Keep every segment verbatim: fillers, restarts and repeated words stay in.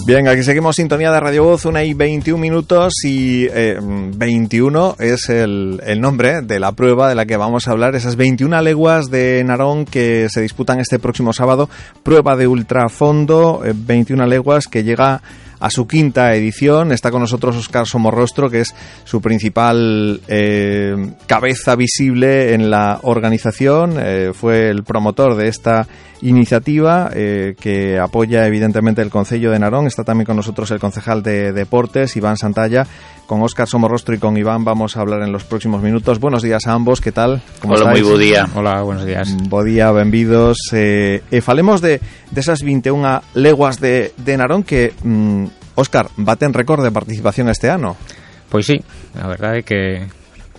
Bien, aquí seguimos sintonía de Radio Voz, una y veintiún minutos y eh, veintiuno es el, el nombre de la prueba de la que vamos a hablar, esas veintiuna leguas de Narón que se disputan este próximo sábado, prueba de ultrafondo, eh, veintiuna leguas que llega a su quinta edición. Está con nosotros Óscar Somorrostro, que es su principal eh, cabeza visible en la organización. Eh, fue el promotor de esta iniciativa eh, que apoya evidentemente el Concello de Narón. Está también con nosotros el concejal de Deportes, Iván Santalla. Con Óscar Somorrostro y con Iván vamos a hablar en los próximos minutos. Buenos días a ambos, ¿qué tal? ¿Cómo Hola, estáis? Moi bo día. Hola, buenos días. Bo día, benvidos. Eh, eh, falemos de, de esas veintiuna leguas de, de Narón que, mm, Óscar, baten récord de participación este ano. Pois sí, a verdade é que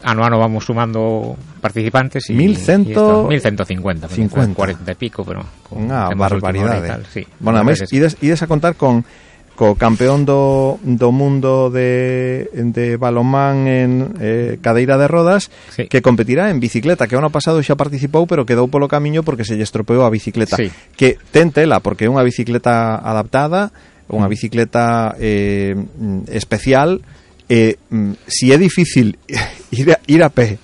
ano a ano vamos sumando participantes e mil ciento cincuenta, cuarenta e pico, pero unha barbaridade. Tal, sí. Bueno, ademais, ides, ides a contar con co campeón do, do mundo de, de balonmán en eh, cadeira de rodas, sí, que competirá en bicicleta, que o ano pasado xa participou, pero quedou polo camiño porque se lle estropeou a bicicleta. Sí. Que ten tela, porque é unha bicicleta adaptada, unha bicicleta eh, especial. Eh, si é difícil ir a, ir a pé,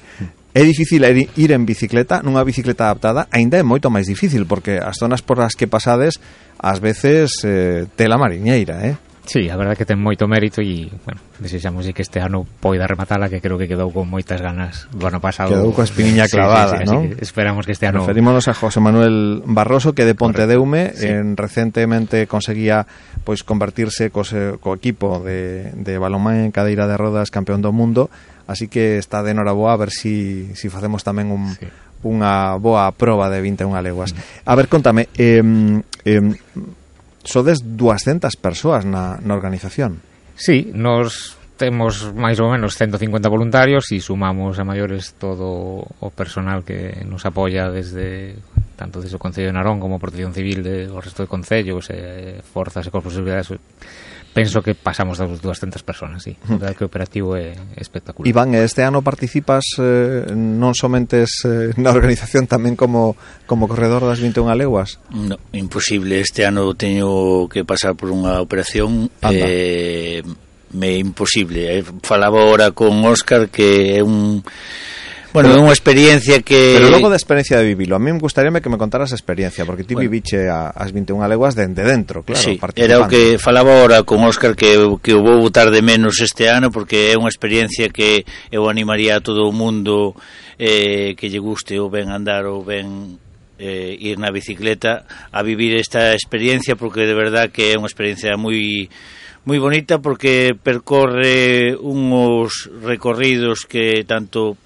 é difícil ir en bicicleta, nunha bicicleta adaptada, aínda é moito máis difícil, porque as zonas por as que pasades ás veces eh, tela mariñeira, eh? Sí, a verdade que ten moito mérito e, bueno, desexamos que este ano poida rematala, que creo que quedou con moitas ganas do ano pasado. Quedou coa espiniña clavada, sí, sí, sí, ¿no? Que esperamos que este ano... Referímonos a José Manuel Barroso, que de Pontedeume, sí, en, recentemente conseguía pois convertirse co, co equipo de, de balonmán en cadeira de rodas campeón do mundo, así que está de noraboa a ver si, si facemos tamén un... Sí, unha boa proba de veintiuna leguas. A ver, contame, eh, eh, sodes duascentas persoas na, na organización. Sí, nos temos máis ou menos ciento cincuenta voluntarios e sumamos a maiores todo o personal que nos apoia desde tanto desde o Concello de Narón como Protección Civil de o resto de concellos, eh, forzas e corpos de seguridade. Penso que pasamos das duascentas personas, sí. O que o operativo é espectacular. Iván, este ano participas eh, non somente eh, na organización, tamén como como corredor das veintiuna leguas? No, imposible. Este ano teño que pasar por unha operación eh, me imposible. Eh, falaba ahora con Óscar que é un... Bueno, é unha experiencia que... Pero logo da experiencia de vivilo, a mí me gustaríame que me contaras a experiencia, porque ti bueno, viviche a, as veintiuna leguas de, de dentro, claro, sí, era o que falaba ahora con Óscar, que, que o vou botar de menos este ano, porque é unha experiencia que eu animaría a todo o mundo eh, que lle guste ou ben andar ou ben eh, ir na bicicleta a vivir esta experiencia, porque de verdad que é unha experiencia moi... moi bonita, porque percorre uns recorridos que tanto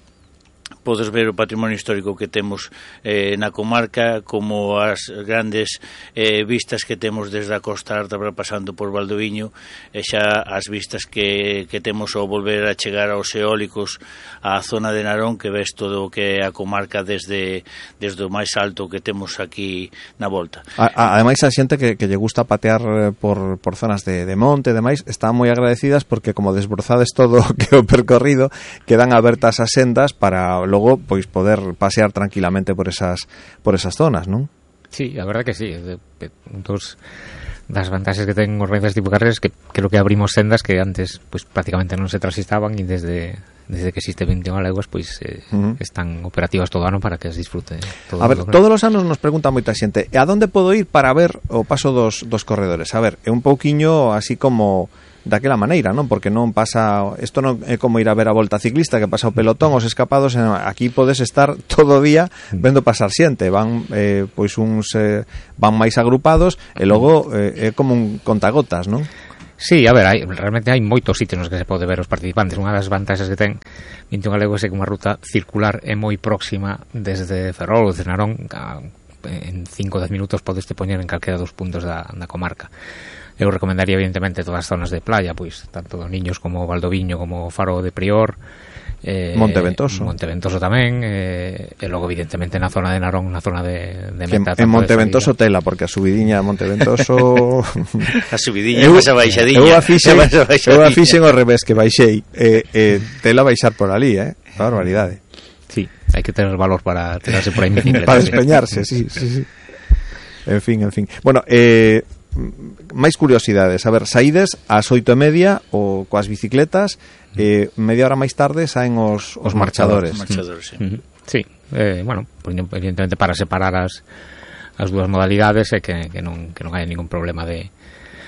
podes ver o patrimonio histórico que temos eh, na comarca, como as grandes eh, vistas que temos desde a Costa Alta pasando por Valdoviño, e xa as vistas que, que temos ao volver a chegar aos eólicos á zona de Narón, que ves todo o que é a comarca desde, desde o máis alto que temos aquí na volta. A, a, ademais a xente que, que lle gusta patear por, por zonas de, de monte e demais, están moi agradecidas porque como desbrozades todo o que o percorrido, quedan abertas as sendas para logo pois poder pasear tranquilamente por esas por esas zonas, non? Sí, a verdade que sí, de, de, dos das vantaxes que ten organizacións tipo carreras que creo que abrimos sendas que antes pois prácticamente non se transitaban, e desde desde que existe veintiuna leguas pois eh, uh-huh. están operativas todo o ano para que as disfrute todo. A ver, todos os anos nos pregunta moita xente, e a donde podo ir para ver o paso dos, dos corredores? A ver, é un pouquiño así como daquela maneira, non? Porque non pasa, isto non é como ir a ver a volta ciclista, que pasa o pelotón, os escapados, aquí podes estar todo o día vendo pasar xente, van eh, pois uns eh, van máis agrupados e logo eh, é como un contagotas, non? Sí, a ver, hai, realmente hai moitos sitios nos que se pode ver os participantes. Unha das vantaxes que ten veintiuna leguas é que unha ruta circular é moi próxima desde Ferrol ou desde Narón, a, en cinco a dez minutos podes te poñer en calquera dos puntos da, da comarca. Eu recomendaría evidentemente todas as zonas de playa, pois tanto do Niños como Valdoviño como Faro de Prior, eh, Monteventoso Monteventoso tamén, eh, e logo evidentemente na zona de Narón, na zona de, de Meta. En Monteventoso tela, porque a subidiña de Monteventoso a subidiña é esa baixadiña. Eu a fixen, eu a fixen ao revés, que baixei eh, eh, tela baixar por ali, eh? Barbaridade. Sí, hai que tener valor para tirarse por aí en bicicleta. Para despeñarse, sí, sí, sí. En fin, en fin. Bueno, eh máis curiosidades. A ver, saídes ás oito e media ou coas bicicletas, eh, media hora máis tarde saen os, os, os marchadores. marchadores sí. Uh-huh. Sí, eh, bueno, evidentemente para separar as, as dúas modalidades e que, que, non, que non hai ningún problema de,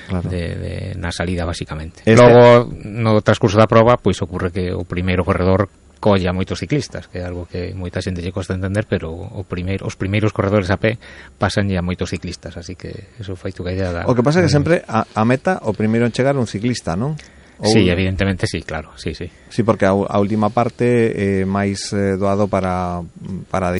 claro. de, de na salida, basicamente. Este... Logo, no transcurso da proba, pois ocurre que o primeiro corredor colla moitos ciclistas, que é algo que moita xente lle costa entender, pero o primeiro, os primeiros corredores a pé pasan ya moitos ciclistas, así que eso fai tu que idea da... O que pasa é que sempre a, a meta o primeiro en chegar un ciclista, non? Ou... Sí, evidentemente sí, claro, sí, sí. Sí, porque a, a última parte é eh, máis eh, doado para para